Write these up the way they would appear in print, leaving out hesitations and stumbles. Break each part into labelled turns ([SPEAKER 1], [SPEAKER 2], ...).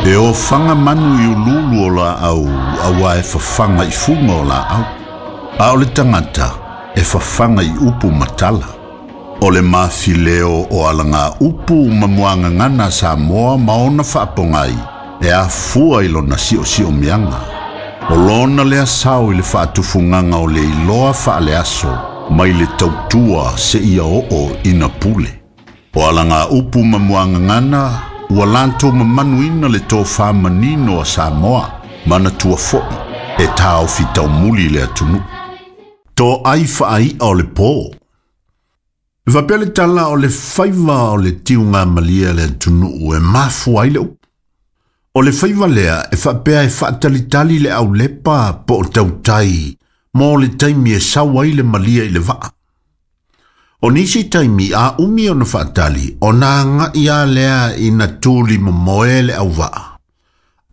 [SPEAKER 1] E ofaga manu i uluulu o laau auā e fafaga i fuga o laau, a o le tagata e fafaga i upu ma tala. O le mafileo o alagaupu ma muagagana a Samoa ma ona faapogai e afua i lona siosiomiaga. O lona lea sao i le faatufugaga o le iloa faaleaso mai le tautua seia oo ina pule. O alagaupu ma muagagana ua latou mamanuina le tofa manino a Samoa, manatua foi e taofi taumuli le atunuu. Toai faai'a o le po. E faapea le tala o le faiva o le tiugamalie a le atunuu e mafua ai le upu. O le faiva lea e faapea e faatalitali le aulepa po o tautai mo le taimi e sau ai le malie i le vaa. O nisi taimi a umi ona faatali, ona aga'i lava lea ina tuli momoe le auvaa,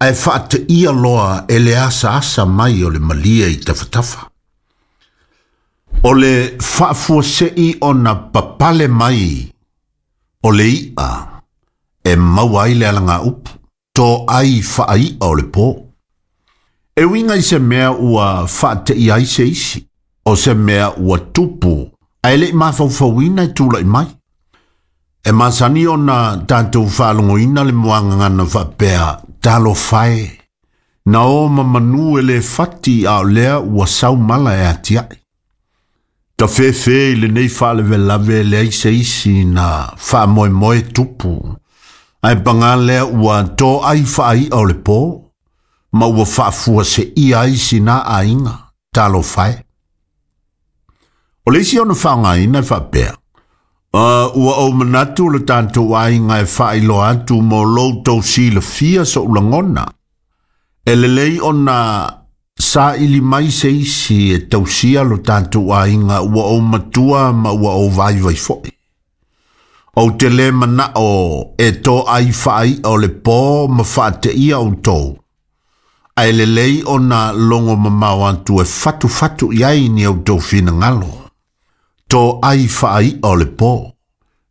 [SPEAKER 1] ae faateia loa e le asaasa mai o le malie i tafatafa. O le faafuasei ona papale mai o le i'a e maua ai le alagaupu, toai faai'a o le po. E uiga i se mea ua faateia ai se isi, o se mea ua tupu ae le'i mafaufauina e tula'i mai. E masani ona tatou faalogoina le muagagana faapea, talofa e, na o ma manu e le fati a o lea ua sau mala e atiae. Tafefe i lenei faalavelave e leai se isi na faamoemoe tupu, ae pagā lea ua toai faai'a o le po, ma ua faafuaseia ai sina aiga, talofa e. O le isi ona faaaogaina e faapea, ua ou manatu le tatou aiga e faailoa atu mo lo outou silafia so'u lagona. E lelei ona saili mai se isi e tausia lo tatou aiga ua ou matua ma ua ou vaivai fo'i. Ou te lē mana'o e toai faai'a o le po ma faateia outou, ae lelei ona logo mamao atu e fatufatu i ai ni outou finagalo. Toai faai'a o le po.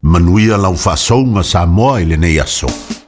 [SPEAKER 1] Manuia lau faasouga Samoa i lenei aso.